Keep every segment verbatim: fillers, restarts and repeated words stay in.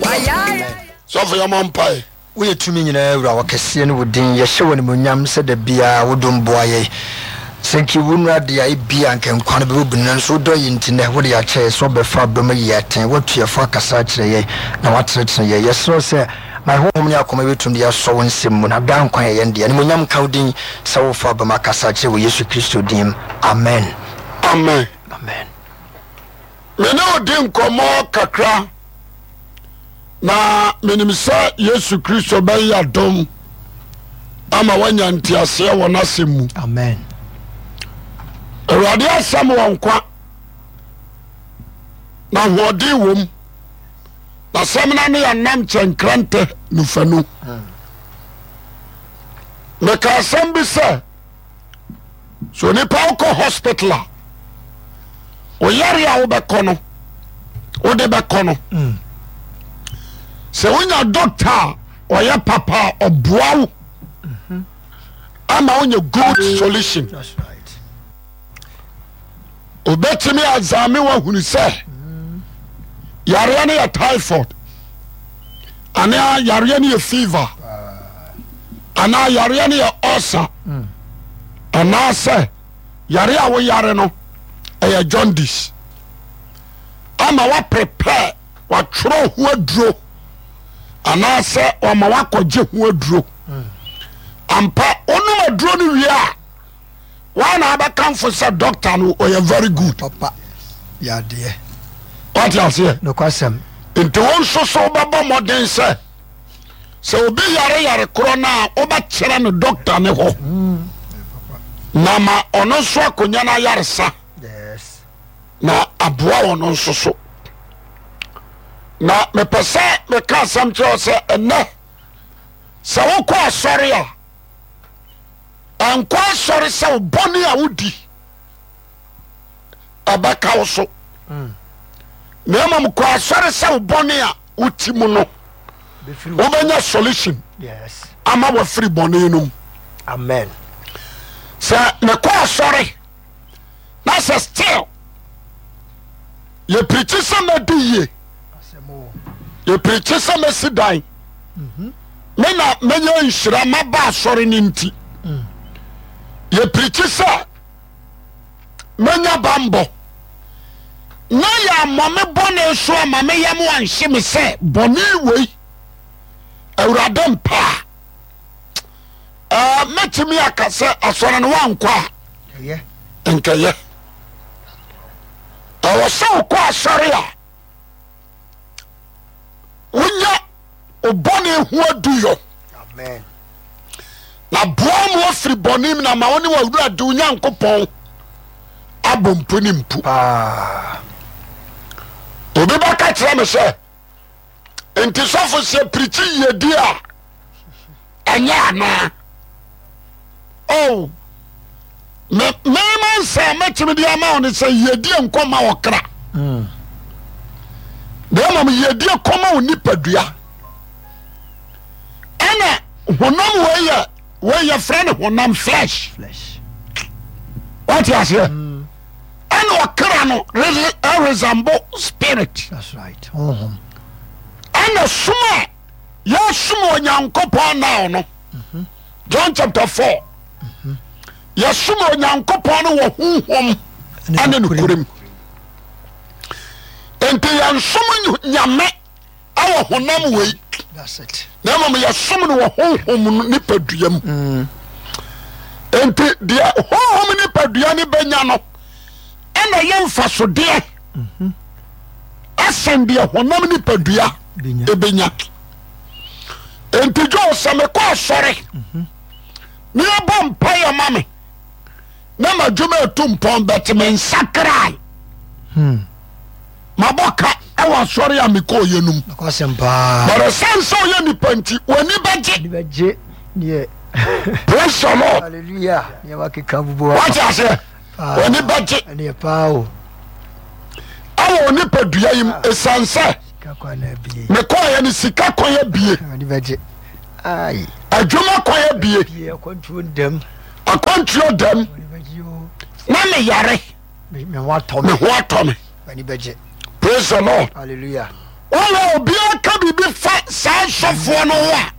Sɔfo, yɛmɔ mpae. Woyɛ tumi nyinaa Wura, ɔkɛseɛ ne wo din. Yɛhyɛ wo animuonyam sɛ da biara wo dom boa yɛn. Sɛ nka yɛwɔ nnuru adeɛ a, ebia anka nkwa no bɛbɔ bunu, nanso wo dɔ yɛn nti nnɛ wode akyɛ yɛn sɛ wobɛfa dɔ mu ayi yɛn atɛn, woatu yɛn fo akasa akyerɛ yɛn, na woatenetene yɛn. Yɛsrɛ wo sɛ ma yɛn honhom ne akoma bɛtumi de asɔ wo nsɛm mu, na daa nkwa yɛ yɛn dea. Animuonyam nka wo din sɛ wofa aba mu akasa akyerɛ wɔ Yesu Kristo din mu. Amen. Amen. Amen. Me ne wo di nkɔmmɔ kakra na menim sɛ Yesu Kristo bɛyɛ adom ama woanya nteaseɛ wɔ n'asɛm mu. Amen. Awurade asɛm wɔ nkwa na ahoɔden wom na sɛm no ne yɛnam kyɛnkrantɛ nufanu. Meka asɛm bi sɛ so onipa wokɔ hospital a oyare a wobɛkɔ no wode bɛkɔ no mm. Sɛ wonya doctor a ɔyɛ papa a ɔboa wo mhm. ama wonya good solution. Obɛtumi azame woahunu sɛ mm. yareɛ no yɛ typhoid anaa yareɛ no yɛ fever anaa yareɛ no yɛ ulcer mm. anaasɛ yare a woyare no ɛyɛ jaundice ama woaprepare watwerɛ ho aduro anaasɛ wama woakɔgye ho aduro mm. Ampa wonom aduro no wie a wọn na abɛkamfo sɛ doctor no ɔyɛ very good. Papa yadeɛ. Wate aseɛ? Nokwasɛm. Nti wo nso so wobɛbɔ mmɔden sɛ sɛ obi yare yare korɔ no a wobɛkyerɛ no doctor ne hɔ mm. na ma ɔno nso akɔnya no ayaresa na aboa ɔno nso so. Na mepɛ sɛ meka asɛm kyerɛ sɛ ɛnɛ sɛ wokɔ asɔre a ɛnkɔ asɔre sɛ wo bɔne a wodi ɛbɛka wo so mm. Na mmom kɔ asɔre sɛ wo bɔne a woti mu no wobɛnya solution ama wafiri bɔne no mu. Amen. Sɛ mekɔ asɔre na sɛ still yɛpirikyi sɛ mɛdi yie, yɛpirikyi sɛ mɛsi dan mhm. me na mɛnya nhyira maba asɔre no nti mm. Yɛpirikyi sɛ mɛnya bambɔ na yɛammɔ me bɔne so ama me yam anhye me sɛ bɔne wei Awurade mpaa mɛtumi aka sɛ asɔre no wankɔ a nkɛyɛ. Ɛwɔ sɛ wokɔ asɔre a wonya obɔne ho aduyɔ na boa mu afiri bɔne mu na ma wo ne w'Awurade wo Nyankopɔn abɔ mpu ne mpu. Obi bɛka kyerɛ me sɛ nti sɔfo sɛ pirikyi yiedi a ɛnyɛ anaa? Oh, me mema nsa a mɛtumi de ama wo ne sɛ yiedie nkɔma ɔkra mm. na mmom yiedie kɔma wo nipadua. Ɛna honam wei yɛ wei yɛfrɛ no honam, flesh. Wate aseɛ mm. Ɛna ɔkra no resemble spirit. Ɛna som a yɛsom Onyankopɔn now no mhm. John chapter four mhm. yɛsom Onyankopɔn no wɔ honhom ɛne nokorɛm. Nti yɛnsom Nyame ɛwɔ honam wei na mmom yɛsom no wɔ honhom nipadua mu mm. Nti deɛ honhom nipadua no bɛnya no ɛna yɛ mfasodeɛ mhm. ɛsen deɛ honam nipadua ɛbɛnya. Nti dwo sɛ mekɔ asɔre mhm. ne yɛbɔ mpaeɛ ma me na madwuma ɛtu mpɔn bɛte me nsakrae hmm. Mabɔ ka ɛwɔ asɔre a mekɔɔyɛ no mu. But ɛsiane sɛ ɔyɛ nipa nti w'ani bɛgye. Praise the Lord. Wate aseɛ? W'ani bɛgye ɛwɔ onipadua yi mu ɛsiane sɛ mekɔɔyɛ no sika kwan abie, adwuma kwan abie, akwantuo dam na meyare me ho atɔ me. Praise the Lord. Hallelujah. Wɔn a obiara ka biribi Israelfoɔ no ho a,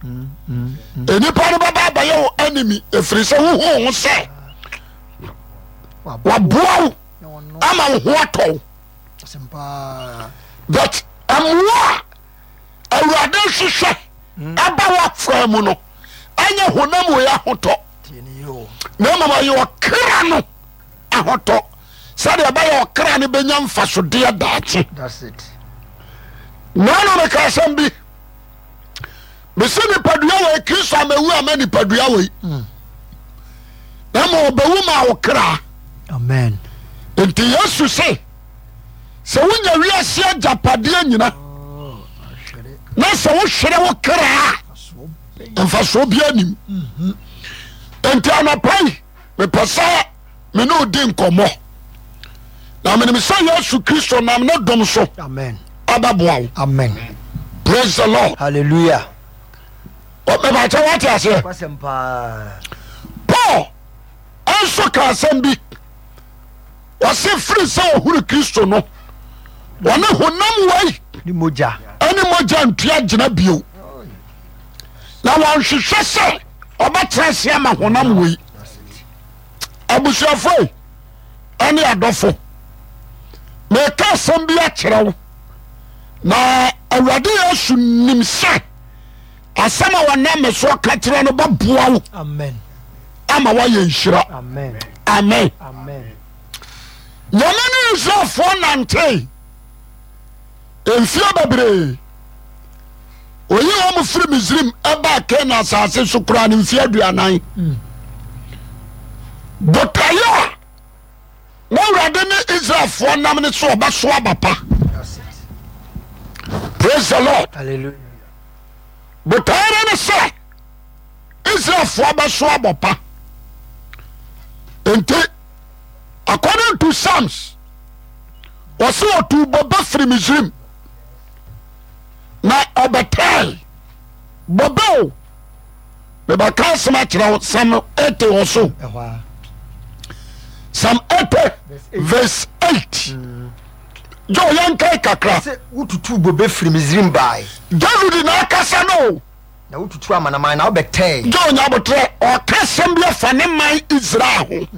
nnipa no bɛba abɛyɛ wo enemy, ɛfiri sɛ wohu ho sɛ waboa wo ama wo ho atɔ wo. But mmoa a Awurade hwehwɛ ɛba w'afaa mu no ɛnyɛ honam wei ahotɔ, na mmom ɛyɛ ɔkra no ahotɔ, sɛdeɛ ɛbɛyɛ ɔkra no bɛnya mfasodeɛ daakye. Naano meka asɛm bi, mese nipadua wei, Kristo amawu ama nipadua wei, mm. na ma ɔbɛwu ma wo kra. Amen. Nti Yesu se sɛ wonya wiase agyapadeɛ nyina oh, na sɛ wohwere wo kra a, mfasoɔ biara nim. Mhm. Nti anɔpa yi mepɛ sɛ me ne odi nkɔmmɔ, na menim sɛ Yesu Kristo nam ne dom so abɛboa wo. Amen. Praise the Lord. Hallelujah. Mɛbɛkyɛ wate aseɛ. Paul nso ka asɛm bi, wɔse firi sɛ ɔhunu Kristo no, wɔne honam wei ne mogya ɛne mogya ntua gyina bio, na wɔnhwehwɛ sɛ ɔbɛtena ase ama honam wei. Abusuafo ɛne adɔfo, meka asɛm bi akyerɛ wo, na Awurade Yesu nim sɛ asɛm a wɔnam me so ka kyerɛ no bɛboa wo ama woayɛ nhyira. Amen. Nyame ne Israelfoɔ nantee mfie bebree. Oyi wɔn firi Misrim ɛbaa Kanaan asase so koraa no mfie aduanan. Hmm. Botaeɛ a na Awurade ne Israelfoɔ nam ne so ɔbɛso aba pa. Praise the Lord. Hallelujah. Botaeɛ no ne sɛ Israelfoɔ bɛso abɔ pa. Nti according to Psalms, wɔsi ɔtu bɔbɛ firi Misrim na ɔbɛtɛɛ bɔbɛ o. Mebɛka asɛm akyerɛ wo, Psalm eighty wɔ so. Psalm eighty verse eight. Joe yɛnkae kakra. Sɛ wotutu bobe firi Misrim bae. David na akasa no o. Na wotutu amanaman na wobɛtɛe. Joe nyabotrɛ, ɔka asɛm bi afa ne man Israel ho.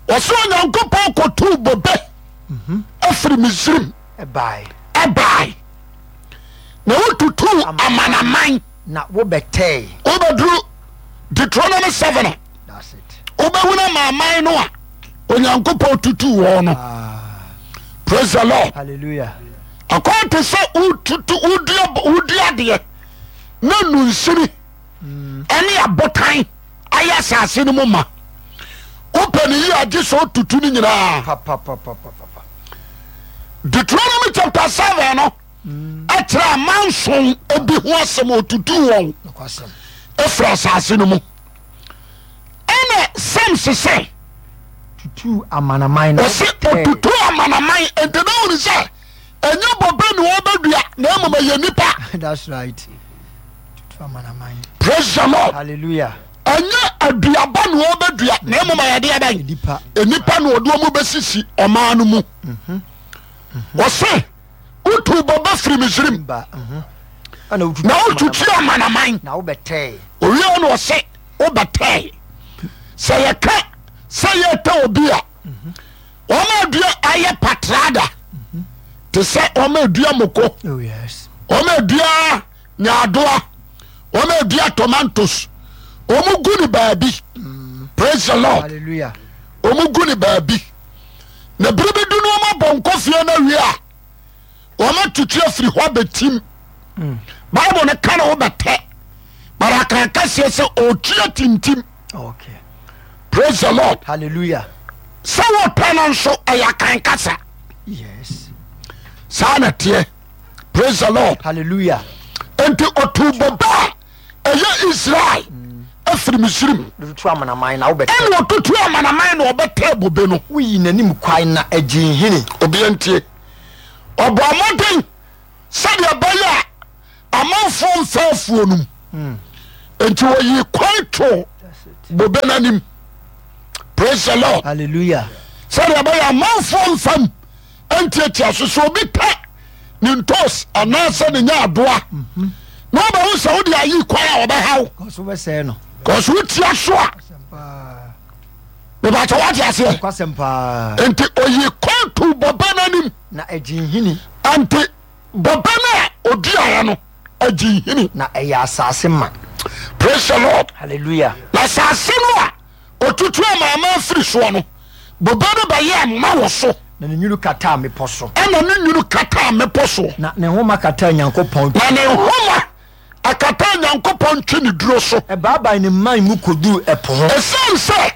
Ɔsɛ Onyankopɔn kɔtuu bobe afiri Misrim Ɛbae. ɛbae na wotutuu amanaman. Na wobɛtɛe. Wobɛduru Deuteronomy seven a, That's it. wobɛhunu amanaman no a Onyankopɔn tutuu wɔn no. Ah, Praise the Lord. hallelujah. Akwan te sɛ wotutu wodua wodua adeɛ na nunsini ɛne abotan ayɛ asase no mu ma. Wopɛ ne yie agye sɛ otutu no nyinaa. Pa pa pa pa pa pa. Deuteronomy chapter seven no ɛkyerɛ amanson bi ho asɛm, otutu wɔn Nokwasɛm. efiri asase no mu. Ɛna Psalms sɛ Tutu amanaman na ɔsi wobɛtɛe. otutu amanaman, nti na wɔn sɛ ɛnyɛ bɔbɛ na wɔbɛdua na mmom ɛyɛ nipa. That's right. Tutu amanaman. Praise the Lord. Hallelujah. Ɛnyɛ aduaba na wɔbɛdua na mmom ɛyɛ deɛ bɛn? Nipa. Nipa na ɔde wɔn bɛsisi ɔman no mu. Ɔse wotu bɔbɛ firi Misrim Ba. Mhm. Ɛna wotutu na wotutu amanaman. Na wobɛtɛe. Owie na ɔse wobɛtɛe. Sɛ yɛka sɛ yɛtɛ obi a, wɔn adua ayɛ patrada te sɛ wɔn adua moko, Oh yes. wɔn adua nyaadoa, wɔn adua tomatoes, wɔn gu ne baabi. Praise the Lord. Hallelujah. Wɔn gu ne baabi na bere bi du no wɔn abɔ nkɔfie no awie a, wɔn atutu afiri hɔ abɛtim. Bible no ka na wobɛtɛ, but aka kaseɛ sɛ ɔtua tintim. Okay. Praise the Lord. Hallelujah. Sɛ wɔtɛ no nso ɛyɛ akan kasa. Yes. Saa na teɛ. Praise the Lord. Hallelujah. Nti ɔtu bɔbɛ a ɛyɛ Israel afiri Misrim Tutu amanaman na wobɛtɛ. ɛna ɔtutu amanaman na ɔbɛtɛ bobe no. Woyi n'anim kwan na agye nhini. Obia ntie. Ɔbɔ mmɔden sɛdeɛ ɛbɛyɛ a amanfoɔ mfa afuo no mu, nti wɔyi kwan to That's it. bobe no anim. Praise the Lord. Hallelujah. Sɛdeɛ ɛbɛyɛ amanfoɔ mfam ntiatia so, sɛ obi tɛ ne ntos anaasɛ ne nyaadoa na wobɛhu sɛ wode ayi kwan a wɔbɛhaw Kɔso bɛsɛe no. Kɔso wotia so a Asɛm paa. Mebakyɛ woate aseɛ? Nokwasɛm paa. Nti oyi kwan to bɔbɛ no anim. Na ɛgye nhini. Nti bɔbɛ no a oduaeɛ no agye nhini. Na ɛyɛ asase ma. Praise the Lord. Hallelujah. Na asase no a otutu amaamaa firi soɔ no, bobe no bɛyɛɛ ma wɔ so. Na ne nwunu kataa mmepɔ so. Ɛna ne nwunu kataa mmepɔ soɔ. Na ne nhoma kataa Nyankopɔn. Na ne nhoma akataa Nyankopɔn ntweneduro so. Ɛbaabae ne mman mu kɔduruu ɛpo ho. Ɛsiane sɛ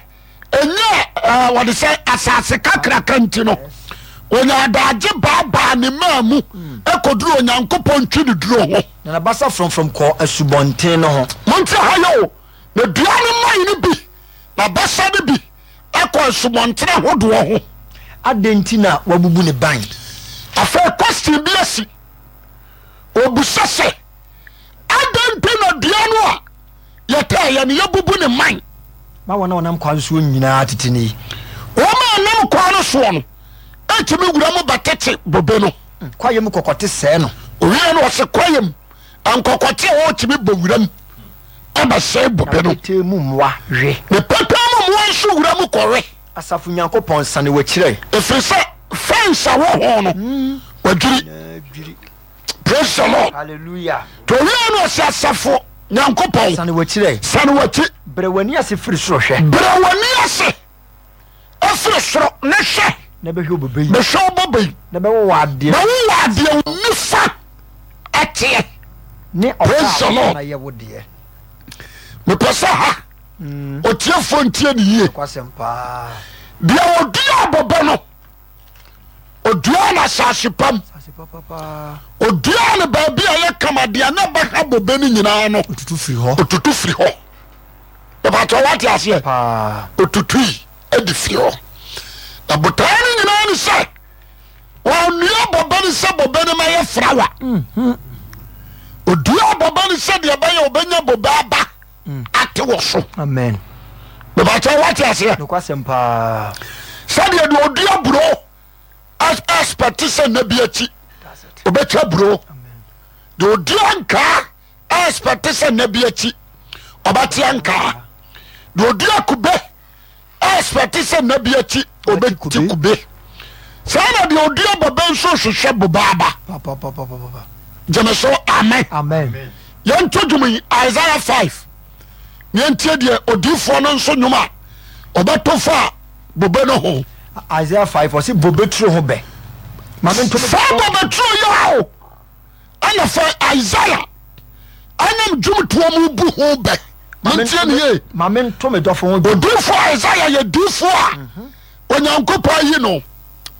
ɛnyɛ ɛɛ wɔde sɛ asase kakraka nti no, wɔnya adagye baabaa ne mmaa mu ɛkɔduru Onyankopɔn ntweneduro ho. Na n'abasa frɔmfrɔm kɔɔ asubɔnten no ho. Monte ha yɛ o, na dua no mman no bi, n'abasa no bi akɔ asubɔntene ahodoɔ ho. Adɛn nti na wabubu ne ban? Afei question bi asi. Obusa sɛ, adɛn nti na dua no a yɛtɛɛyɛ no yɛbubu ne man? Ma wɔn a wɔnam kwan soɔ nyinaa tete ne yi. Wɔn a wɔnam kwan no soɔ no ɛtumi wura mu bɛtete bobe no. Kwaeɛ mu kɔkɔte sɛɛ no. Owia no ɔse kwaeɛ mu nkɔkɔte a wɔtumi bɔ wura mu ɛbɛsɛe bobe no. Na petee mu mmoa we. Ne petee mu mmoa nso wura mu kɔwe. Asafo Nyankopɔn, sane w'akyiri ɛ. Ɛfiri sɛ fence a wɔ ho no wadwiri. Praise the Lord. Hallelujah. To owia no ɔse asafo Nyankopɔn. Sane w'akyiri ɛ. Sane w'akyi. Brɛ w'ani ase firi soro hwɛ. Brɛ w'ani ase efiri soro ne hwɛ. Na bɛhwɛ wo bobe yi. Bɛhwɛ wo bobe yi. Na bɛwo wɔ adeɛ. Bɛwo wɔ adeɛ wo nifa ɛteɛ. Ne ɔba a wɔn ayɛ wo deɛ. Mepɛ sɛ ha otiefoɔ ntie ne yie. Nokwasɛm paa. Deɛ ɔdua abobe no, ɔdua no asase pam. Asase papapaa. Ɔdua no baabi a ɛyɛ kama deɛ na ɛbɛha bobe no nyinaa no. Otutu firi hɔ. Otutu firi hɔ. Bɛbɛtɔ wate aseɛ. Paa. Otutui de firi hɔ. Na botaeɛ no nyinaa ne sɛ wɔnnua bobe no sɛ bobe no mɛyɛ frawa. Odua bobe no sɛ deɛ ɛbɛyɛ ɔbɛnya bobe aba ate wɔ so. Amen. Bɛbɛtɔ wate aseɛ. Nokwasɛm paa. Sɛdeɛ deɛ ɔdua buro expect sɛ nna bi akyi That's it. ɔbɛtwa buro. Amen. Deɛ ɔdua nkaa expect sɛ nna bi akyi ɔbɛte nkaa. Deɛ ɔdua kube expect sɛ nna bi akyi Ɔbɛte ɔbɛte kube. kube. Saa na deɛ ɔdua bobe nso hwehwɛ bobe aba. Papapapapapa. Gyeme so amen. Amen. Yɛnto dwom yi Isaiah five na yɛntie deɛ odiyifoɔ no nso nnwom a ɔbɛto fa bobe no ho. Isaiah five ɔse bobe turo ho bɛ. Ma me nto me Saa bobe turo yi a o ɛna fa Isaiah ɛnam dwomtoɔ mu bu ho bɛ. Montie ne yie. Ma me nto me dɔfo ho dwom. Odiyifoɔ Isaiah yɛ diyifoɔ a Onyankopɔn ayi no.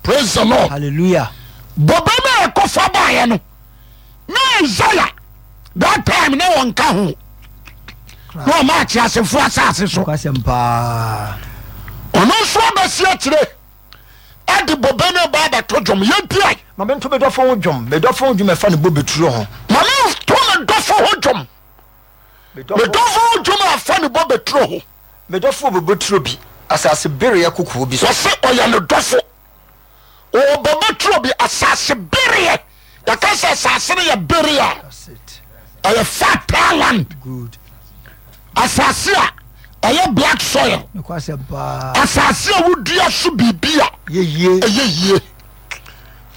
Praise the Lord. Hallelujah. Bobe no a ɛkɔfa baeɛ no na Isaiah that time na wɔnka ho na ɔma ateasefoɔ asase so. Nokwasɛm paa. Ɔno nso abɛsi akyire ɛde bobe no ba abɛto dwom. Yɛntiae. Ma me nto me dɔfo ho dwom. Me dɔfo ho dwom ɛfa ne bobe turo ho. Ma me nto me dɔfo ho dwom. Me Me dɔfo dɔfo ho dwom a ɛfa ne bobe turo ho. Me dɔfo wɔ bobe turo bi asase bereɛ kokoɔ bi so. Wɔse ɔyɛ ne dɔfo. Ɔwɔ bobe turo bi asase bereɛ. Yɛka sɛ asase no yɛ bereɛ a, That's it. ɛyɛ fertile land. Good. Asase a ɛyɛ black soil. Nokwasɛm paa. Asase a wodua so biribi a Yɛ yie. ɛyɛ yie.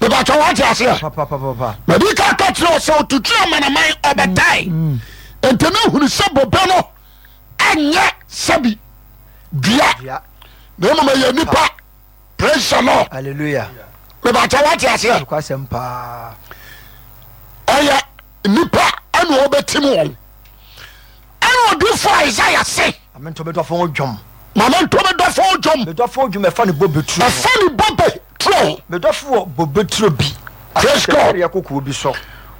Mebatɔ wate aseɛ. Papapapapa. Madi ka ka kyerɛ wo sɛ otutu amanaman ɔbɛtae. Nti ne hunu sɛ bobe no ɛnyɛ sɛbi dua Dua. na mmom ɛyɛ nipa. Praise the Lord. Hallelujah. Mebatɔ wate aseɛ. Nokwasɛm paa. Ɛyɛ nipa ɛna ɔbɛtim wɔn. Ɛna odiyifoɔ Isaiah se. Ma me nto me dɔfo ho dwom. Ma me nto me dɔfo ho dwom. Me dɔfo ho dwom ɛfa ne bobe turo ho. Ɛfa ne bobe turo ho. Me dɔfo wɔ bobe turo bi. Praise God. Asase bereɛ kokoɔ bi so.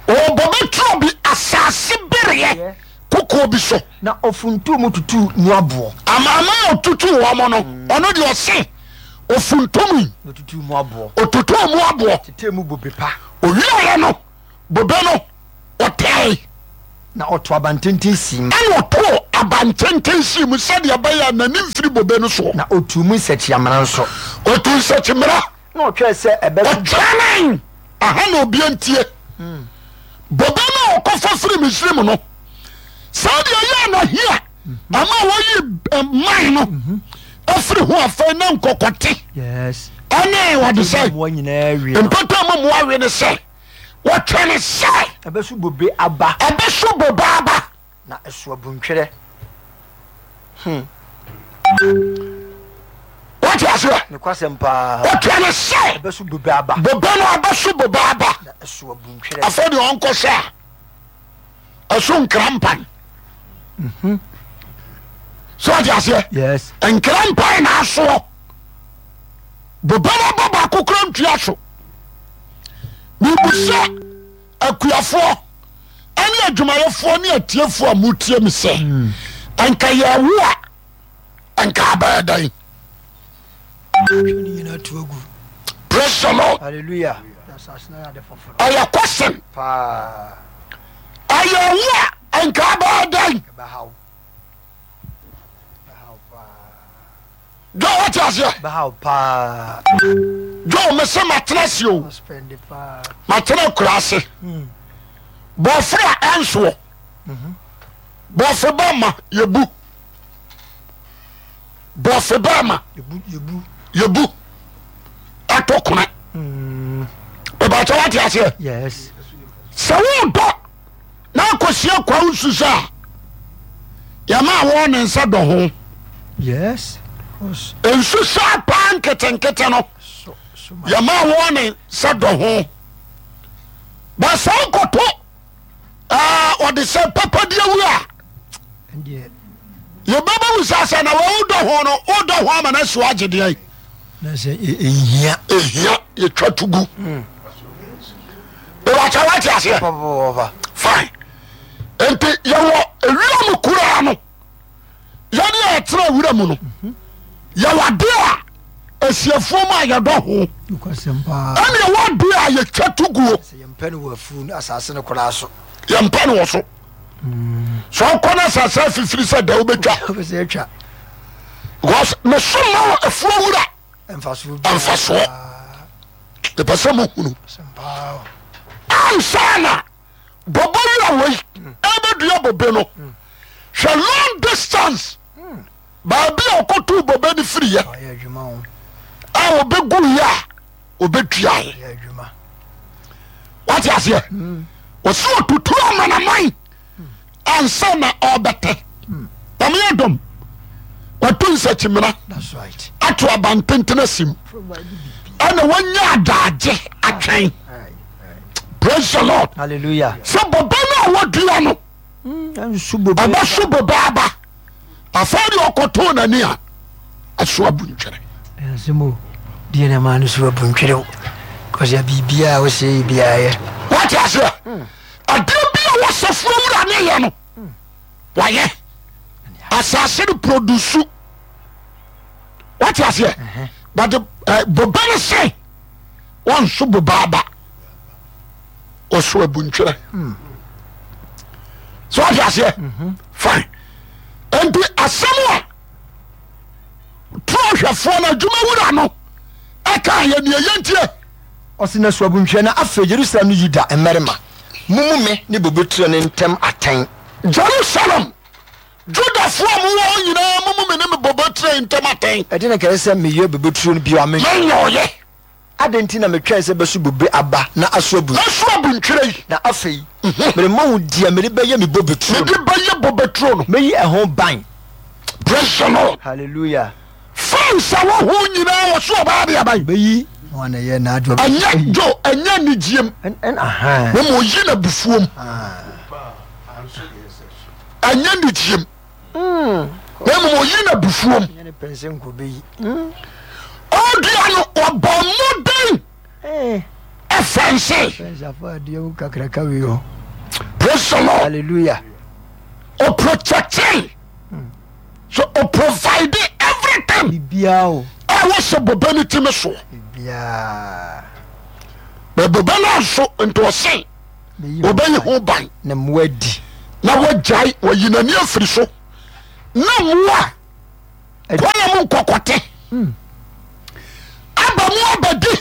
Ɔwɔ bobe turo bi asase bereɛ kokoɔ bi so. Na ɔfuntuu mu tutuu mu aboɔ. Amanaman a ɔtutuu wɔn no, ɔno deɛ ɔse ɔfuntumii. Na ɔtutuu mu aboɔ. Ɔtutuu mu aboɔ. Tetee mu bobe pa. Ɔwieeɛ no, bobe no, ɔtɛe. Na ɔtoo abantenten sii mu. Ɛna ɔtoo abantenten sii mu sɛdeɛ ɛbɛyɛ a n'ani mfiri bobe no soɔ. Na ɔtuu mu nsakyiamena nso. Ɔtuu nsakyiamena. Na ɔtwɛɛ sɛ ɛbɛso. Ɔtwɛnee. Aha na obia ntie. Bobe no a ɔkɔfa firi Misrim no, saa deɛ ɛyɛ na hia ama wɔyi eh, man no afiri ho. Afei na nkɔkɔte ɛne wɔde sɛ mmoa nyinaa wie no. Mpata mu mmoa we ne sɛ wɔtwɛne sɛ ɛbɛso bobe aba. Ɛbɛso bobe aba. Na ɛso abuntwerɛ. Wɔte aseɛ? Nokwasɛm paa. Wɔtwɛne sɛ ɛbɛso bobe aba. Bobe no abɛso bobe aba. Na ɛso abuntwerɛ. Afei deɛ ɔnkɔhwɛ a, ɛso nkra mpan sɛ wɔte aseɛ? Yes. Nkra mpan na asoɔ bobe no aba baako kora ntua so. Mebusa akuafoɔ ɛne adwumayɛfoɔ ne atiefoɔ a motie me sɛ, ɛnka yɛwo a, ɛnka abɛyɛ dɛn? Twe ne nyinaa tu agu. Praise the Lord. Hallelujah. Na asase no ayɛ ade foforɔ. Ɛyɛ question. Paa. Ɛyɛ wo a, ɛnka abɛyɛ dɛn? Ɛbɛhaw. Ɛbɛhaw paa. Dwa wate aseɛ? Ɛbɛhaw paa. Dwa me sɛ matena ase o. Ɔspɛnde paa. Matena akura ase. Bɔforo a ɛnsoɔ, bɔfo ba ma yɛbu, bɔfo ba ma Yɛbu yɛbu. Yɛbu ato kona bɛbɛkyɛ. Wate aseɛ? Yes. Sɛ wodɔ na akɔsia kwa wo nsu sɛ a, yɛma wɔ ne nsa dɔ ho. Yes. Of course. Nsu saa paa nketenkete no, So so ma. yɛma wɔ ne nsa dɔ ho ba. Sɛ wokɔto ɔde sɛ papadeɛ wu a, Ɛndeɛ. Yɛbɛbɛ wo sɛ sɛ na wodɔ ho no, wodɔ ho ama no asi wagyedeɛ. Na sɛ ɛhia. Ɛhia yɛtwa to gu. Bɛbɛkyɛ wate aseɛ? Papa. Fine. Nti yɛwɔ ewira mu koraa no, yɛne a yɛtena wura mu no, yɛwɔ ade a asiefoɔ mu a yɛdɔ ho. Nokwasɛm paa. Ɛne ɛwɔ ade a yɛtwa to guo. Sɛ yɛmpɛ no wɔ afuo no asase no koraa so. Yɛmpɛ no wɔ so. Sɛ ɔkɔ no asase afifiri sɛ da wobɛtwa. Wopɛ sɛ atwa. Because meso ma wɔ afuo wura mfasoɔ biara. Mfasoɔ. Mepɛ sɛ mohunu. Asɛm paa o. Ansa na bɔbɔ wura wei ɛbɛdua bobe no, hwɛ long distance baabi a ɔkɔtoo bobe no firiyɛ Ɔyɛ adwuma o. a ɔbɛguyɛ a ɔbɛduaeɛ. Ɔyɛ adwuma. Wate aseɛ? Ɔsi ɔtutu amanaman ansa na ɔbɛtɛ. Nyame adom wato nsakyimena That's right. ato abantenten asim Provide bibi. Ɛna wanya adagye atwɛn. Aye, aye. Praise the Lord. Hallelujah. Sɛ bobe no a wɔdua no Nsu bobe. Ɛbɛso bobe aba. Afei deɛ ɔkɔtoo n'ani a, ɛso abu ntwere. Asɛm o. Deɛ na maa no so abu ntwere o. Kɔsɛ biribiara a wosɛ yi biara yɛ. Wate aseɛ? Adeɛ bi a wɔsɛfoɔ wura ne yɛ no, wayɛ asase no produce. Wate aseɛ? But eh, bobe no sɛ wɔnso bobe aba, ɔso abu ntwerɛ. So wate aseɛ? Fine. Nti asɛm a turo hwɛfoɔ no adwuma wura no ɛka yɛ neɛ yɛntie. Ɔse na so abu ntwerɛ. Na afei Jerusalem ne Yuda mmarima, mommu me ne bobeturo no ntam atɛn. Jerusalem, Judafoɔ a mowɔ hɔ nyinaa, momu me ne me bobeturo yi ntam atɛn. Ɛdeɛn na nka ɛsɛ sɛ meyɛ bobeturo no bio a menyɛ? Menyɛ ɔyɛ. Adɛn nti na metwɛn sɛ ɛbɛso bobe aba na aso abu? Aso abu ntwerɛ yi. Na afei merema wo deɛ mede bɛyɛ me bobeturo no. Mede bɛyɛ bobeturo no. Mɛyi ɛho ban. Praise the Lord. Hallelujah. Fɛnsa wɔ ho nyinaa wɔ so ɔbaa de aban. Bɛyi wɔn na ɛyɛ n'adwuma. Ɛnyɛ jo, ɛnyɛ anigyeɛm. Ɛn ɛn ahan. Na ma ɔyi n'abufuom. Ɛnyɛ anigyeɛm. Na mmom ɔyi n'abufuom. Ɛnyɛ ne pɛn sɛ nko bɛyi. Ɔdua no ɔbɔ mmɔden ɛfɛnse. Fɛnsafo adeɛ wo kakraka wei hɔ. Praise the Lord. Hallelujah. Ɔprotecte so, ɔprovide everything. Biribiara o. A wɔsɛ bobe no timi soɔ. Biribiara. Na bobe no anso nti ɔse Bɛyi wɔbɛyi ho ban. Na mmoa di. Na wɔgyae wɔyi n'ani afiri so na mmoa kɔla mu nkɔkɔte aba mu abɛdi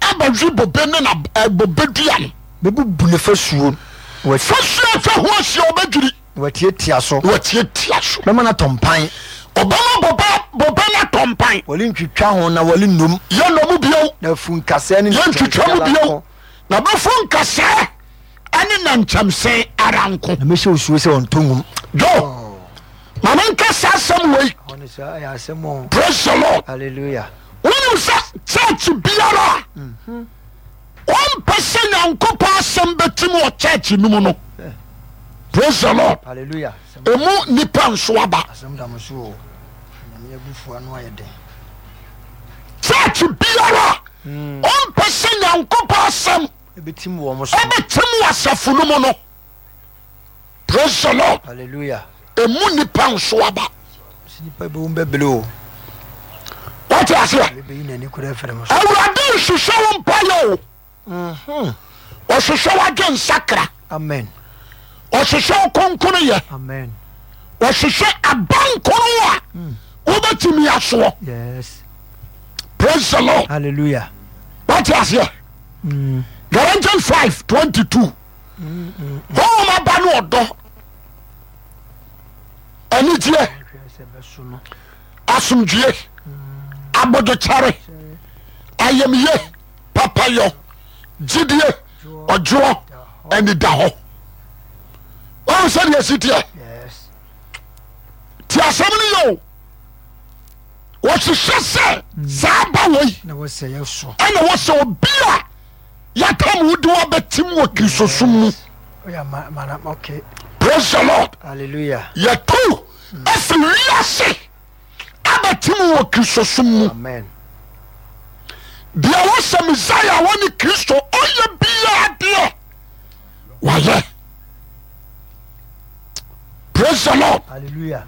abɛhwe bobe ne na eh, bobe dua no. Bɛbubu ne fasuo. Fasuo atwa ho ahyia ɔbɛdwiri. Na watiatia so. Na watiatia so. Bɛma no atɔ mpan. Ɔbɛma bobe bobe no atɔ mpan. Wɔrentwitwa ho na wɔrennom. Yɛnnɔ mu bio. Na afu nkasɛɛ ne Yɛntwitwa mu nnɛnkyɛmse ara bio. nko. Na bɛfu nkasɛɛ ne nnɛnkyɛmse ara nko. Na mɛhyɛ osuo sɛ ɔntɔ ngum. Joe, ma menka saa asɛm wei. Ɛhɔ no saa ɛyɛ asɛm o. Praise the Lord. Hallelujah. Wonim sɛ church biara a wɔmpɛ sɛ Nyankopɔn asɛm bɛtim wɔ church no mu no. Praise the Lord. Hallelujah. Emu nipa nso aba. Asɛm da mo so o. Nyame abufuo ano ayɛ den. Church biara ɔmpɛ sɛ Nyankopɔn asɛm Ɛbɛtim wɔ mo so. ɛbɛtim wɔ asafo no mu no. Praise the Lord. Hallelujah. Emu nipa nso aba. Sɛ nipa bi wo bɛbele o. Wate aseɛ? Bɛyi n'ani kura afiri mo so. Awurade nhwehwɛ wo mpaeɛ o. Mhm. Ɔhwehwɛ w'adwe nsakra. Amen. Ɔhwehwɛ wo konkono yɛ. Amen. Ɔhwehwɛ abankoro a wobɛtumi asoɔ. Yes. Praise the Lord. Hallelujah. Wate aseɛ? Mm. Galatians five twenty two. Honhom aba ne ɔdɔ, anigyeɛ, Hwɛ sɛ bɛso no. asomdwie, abodwokyɛre, ayamye, papayɔ, gyidie, ɔdwoɔ, anidahɔ. Wɔn sɛdeɛ ɛsi teɛ. Yes. Ti asɛm no yɛ o. Wɔhyehyɛ sɛ saa ba wei Na wɔsɛ yɛ so. ɛna wɔsɛ obi a yɛatam wo de wabɛtim wɔ Kristosom mu. Oya ma ma na okay. Praise the Lord. Hallelujah. Yɛtu afiri wiase abɛtim wɔ Kristosom mu. Amen. Deɛ wɔsɛ Messiah a wɔne Kristo ɔyɛ biara deɛ wayɛ. Praise the Lord. Hallelujah.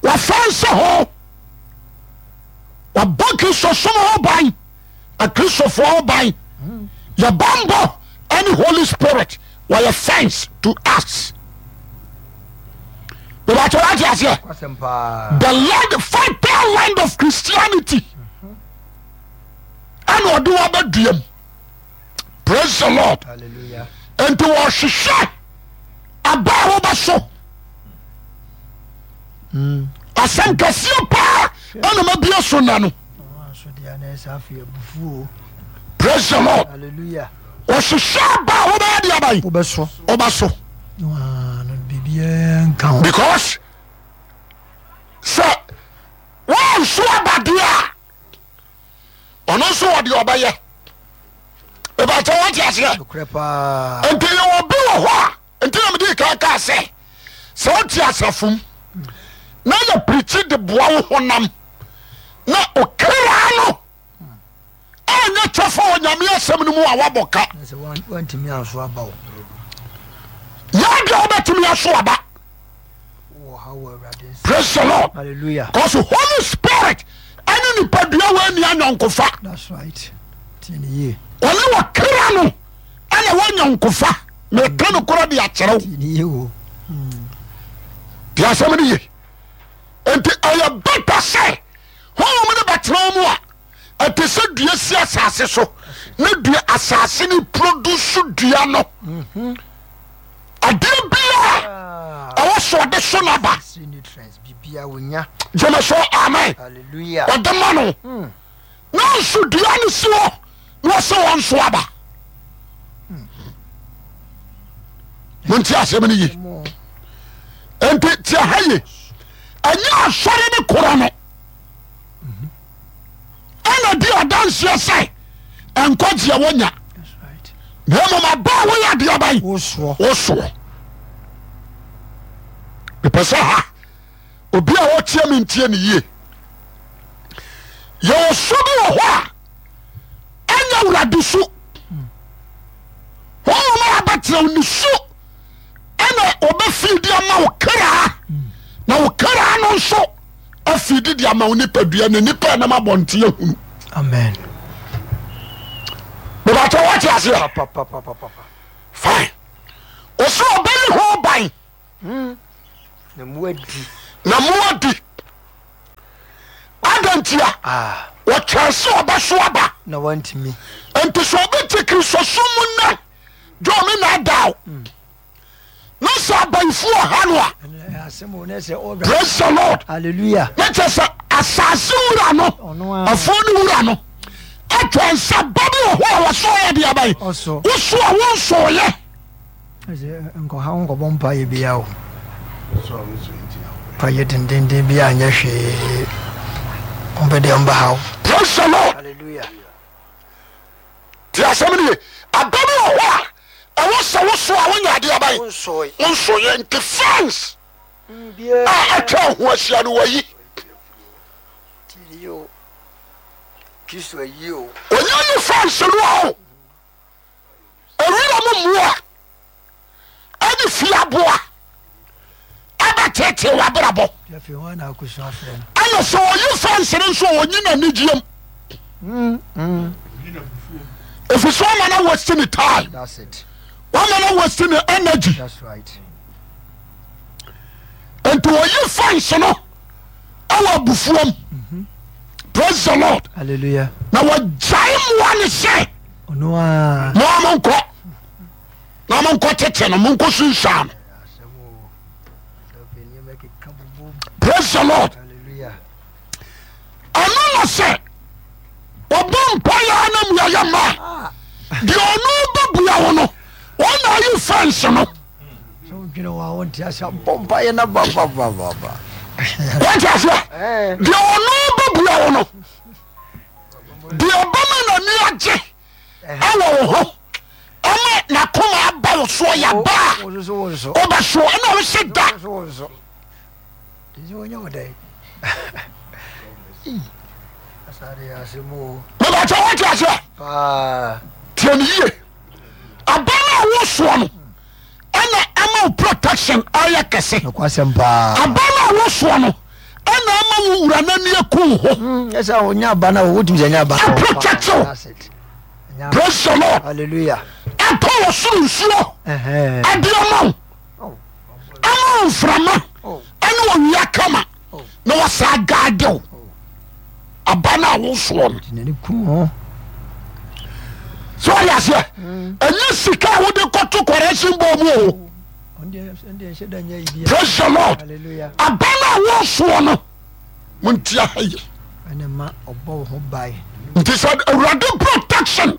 Wɔfa nsa ho wɔbɔ Kristosom ho ban, akristofoɔ ho ban. Yɛ bambɔ ɛne Holy Spirit wɔyɛ fence to us. Bɛbɛkyɛ wate aseɛ? Kwasɛm paa. The land, fertile land of Christianity ɛna ɔde wabɛduam. Praise the Lord. Hallelujah. Nti wɔhwehwɛ aba a wobɛso. Asɛm kɛseɛ paa ɛna mabie so nna no. Wɔn nso deɛ na ɛsɛ afei abufuo. Praise the Lord. Hallelujah. Wɔhwehwɛ aba a wobɛyɛ de aba yi Wobɛso. wobɛso. Waa no biribiara nka ho. Because sɛ wɔnso aba deɛ a ɔno nso wɔ deɛ ɔbɛyɛ. Ìbàtɛ wɔn ti aseɛ. Nokorɛ paa. Nti yɛ wɔ bi wɔ hɔ a nti na mede kan kaa sɛ sɛ wote asafo mu na yɛ pirikyi de boa wo honam na okra no anyɛ kyɛfa wɔ Nyame asɛm no mu a wabɔ ka. Na sɛ wan- wantumi anso aba o. Yɛ deɛ wobɛtumi aso aba. Wɔ ha wɔ Awurade nsa. Praise the Lord. Hallelujah. Because Holy Spirit ɛne nipadua wɔ ani anyɔnkofa. That's right. Tie ne yie. Ɔne wɔ kra no ɛna wɔ nyɔnkofa. Meka no korɔ de akyerɛ wo. Tie ne yie o. Te asɛm no ye. Nti ɛyɛ bɛta sɛ honhom no bɛtena wo mu a ɛte sɛ dua si asase so na dua asase no produce dua no. Adeɛ biara Ah. ɛwɔ so ɔde so n'aba. Necessary nutrients biribiara wonya. Gyeme so amen. Hallelujah. Ɔde ma no. Nanso dua no si hɔ na ɔsɛ wɔn so aba. Monti asɛm no ye. Mo. Nti tie ha ye. Ɛnyɛ asɔre ne korɔ no ɛna di adanseɛ sɛ nkwagyeɛ wonya That's right. na mmom aba a woyɛ adeɛ aban Wosoɔ. wosoɔ. Mepɛ sɛ ha obi a ɔtie me ntie ne yie. Yɛwɔ su bi wɔ hɔ a ɛnyɛ Awurade su. Honhom a abɛtena wo ne su ɛna ɔbɛfii de ama wo kra na wo kra no nso afii de de ama wo nipadua na nipa ɛnam abɔnten ahunu. Amen. Bɛbɛtɛ wɔte aseɛ? Papapapapapa. Fine. Ɔsɛ ɔbɛyi ho ban Na mu adi. na mo adi. Adɛn ntia? Ah. Wɔtwɛn sɛ ɔbɛso aba. Na wantumi. Nti sɛ obi te Kristosom mu nnɛ John me na da o na sɛ abayifoɔ ha no a, praise the Lord. Hallelujah. Na kyerɛ sɛ asase wura no, afuo no wura no atwa nsa ba bi wɔ hɔ a wɔsɔ yɛ de abayi woso a wonsɔɔyɛ. Nkɔha wo nkɔbɔ mpaeɛ bia o, mpaeɛ dendenden bia anyɛ hwee, ɔmpɛ deɛ ɔmba ha o. Praise the Lord. Hallelujah. Ti asɛm no ye. Aba bi wɔ hɔ a ɛwɔ sɛ woso a wonya adeɛ aban wonsɔeɛ, nti fence a atwa ho ahyia no wayi. Ɔnya yi fence no a o ewira mu mmoa ɛne fie aboa ɛbɛtetee w'abrabɔ. Ɛna sɛ ɔyi fence no nso ɔnyi n'anigyeɛm ɛfiri sɛ ɔma no waste ne time, wama no waste ne energy. Nti ɔyi fence no ɛwɔ abufuom. Praise the Lord. Hallelujah. Na wɔgyae mmoa ne sɛ moa monkɔ na monkɔ tete no, monkɔ sunsuan no. Praise the Lord. Ɛno na sɛ ɔbɔ mpaeɛ na mmuayɛ ma a, deɛ ɔno bɛbua wo no, ɔna ayi fɛnse no. Wate aseɛ? Deɛ ɔno bɛbua wo no, deɛ ɔbɛma n'ani agye ɛwɔ wo ho ama n'akoma aba wo soɔ yaba a wobɛso ɛna wo se da. Mebakyɛ wote aseɛ? Tie ne yie. Aba no a wosoɔ no ɛna ama wo protection ayɛ kɛse. Aba no a wosoɔ no ɛna ama wo wura no ani aku wo ho. Aprotect wo. Praise the Lord. Hallelujah. Ɛtɔ wɔ soro nsuo ɛde ama wo, ama wo mframa ɛne owia kama na wɔsaa gaade wo. Aba no a wosoɔ no sɛ ɔyɛ aseɛ, ɛnyɛ sika a wode kɔto correction bɔ mu o. Praise the Lord. Aba no a wosoɔ no, montia ha ye. Nti sɛ Awurade protection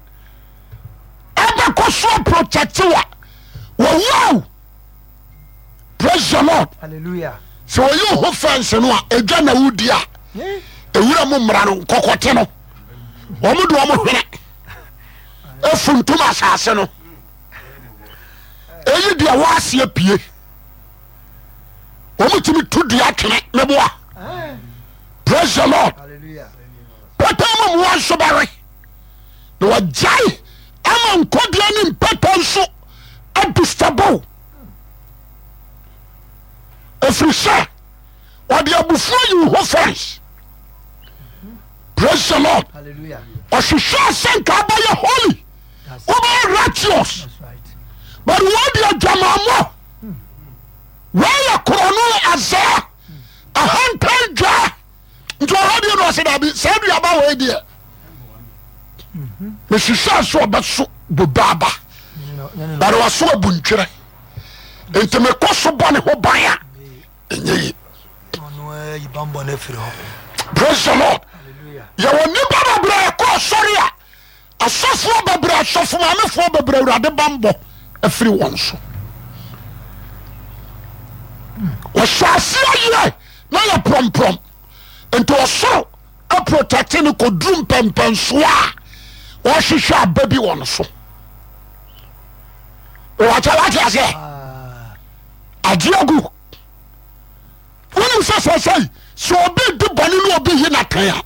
ɛbɛkɔ so protect wa wɔwuaw. Praise the Lord. Hallelujah. Sɛ wɔyi wo ho fɛnse no a, ɛdwa na wodi a, ɛwura mu mmara no nkɔkɔte no, wɔn de wɔn hwene efuntum asase no, eyi deɛ wɔaseɛ pie, wɔn tumi tu dua twene ne boa. Praise the Lord. Pɛtɛ mu mmoa nso bɛwe na wɔgyae ama nkɔdeɛ ne mpɛtɛ nso adistabo, ɛfiri sɛ ɔde abufuo yi wo ho fɛns. Praise the Lord. Ɔhwehwɛ sɛ nka wobɛyɛ holy, wobɛyɛ righteous, but wɔde adwamammɔ wɔyɛ korɔno azaa ahantan dwaa. Nti ɔhɔ deɛ na ɔsɛ daabi, saa duaba wei deɛ mehwehwɛ sɛ ɔbɛso bobe aba, but waso abu ntwerɛ, nti mekɔ so bɔ ne ho ban a ɛnyɛ yi. Praise the Lord. Yɛwɔ nnipa bebree ɛkɔ asɔre a, asɔfoɔ bebree, asɔfo maamefoɔ bebree, Awurade bambɔ afiri wɔn so. Wɔhyɛ aseɛ yɛ na yɛ prɔmprɔm, nti ɔsoro aprotɛkte no kɔduru mpɛmpɛnsoɔ a wɔhwehwɛ aba bi wɔ no so. Wɔkyɛ wate aseɛ agye agu. Wonim sɛ sɛsɛi sɛ obi di bɔne ne obi yi n'atɛn a,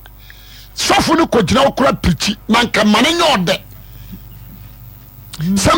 sɔfo no kɔgyina wo kora pirikyi na nka ma no nyɛ ɔdɛ sɛ